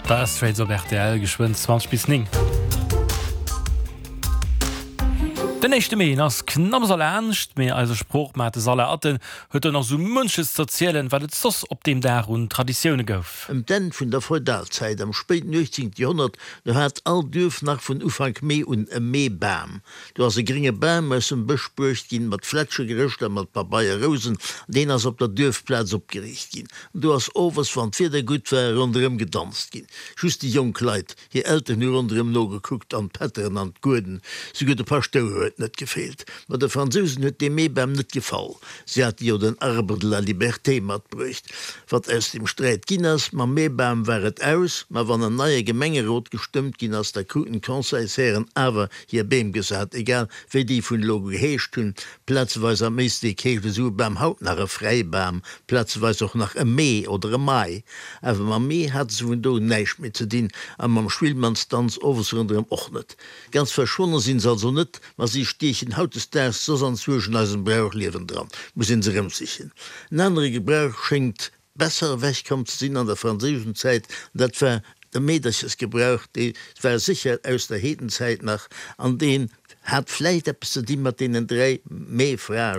Dire Straits op rtl, geschwënn 20 bis 9. Den éischte Mee ass knapps erlaanscht, mee eise Sproochmaart de Salah Atten huet do nach sou munches z'erzielen, wat et soss op deem Dag un Traditioune gouf. Ëm d'Enn vun der Feudalzäit, am spéiten 18. Joerhonnert, do hat all Duerf nach vun Ufank Mee un e Meebam. Do ass e grénge Bam aus dem Bësch bruecht ginn, mat Flätsche gerëscht a mat Pabeierrousen, an deen ass op der Duerfplaz opgeriicht ginn. An do ass owes, wann d'Wieder gutt war, ronderëm gedanzt ginn. Just déi jonk Leit, hir Elteren hu ronderëm nogekuckt, an d'Pätteren an d'Gueden, souguer de Paschtouer huet net gefeelt. Ma de Fransousen huet dee Meebam net gefall. Si hate jo den Arbre de la liberté matbruecht. Wat aus deem Sträit ginn ass, mam Meebam war et aus. Ma wann en neie Gemengerot gestëmmt ginn ass, da kruten d'Conseilshären awer hir Beem gesat, egal wéi déi vun elo geheescht hunn. Plazeweis am Éislek heescht esou e Bam haut nach e Fräibam, plazeweis och nach e Mee oder e Mai. Awer mam Mee hate se vun do un näischt méi ze dinn a mam Schwillmannsdanz owes ronderëm och net. Ganz verschwonne sinn se also net, ma si stiechen hautdesdaags soss anzwousch an eisem Brauchliewen dran, muss een se erëmsichen. En anere Gebrauch schéngt Besser ewech komm ze sinn an der franséischen Zäit, an dat war de Meederchesgebrauch, dee war sécher aus der Heedenzäit nach, an deen hat vläicht eppes ze di mat deenen 3 Meefrae.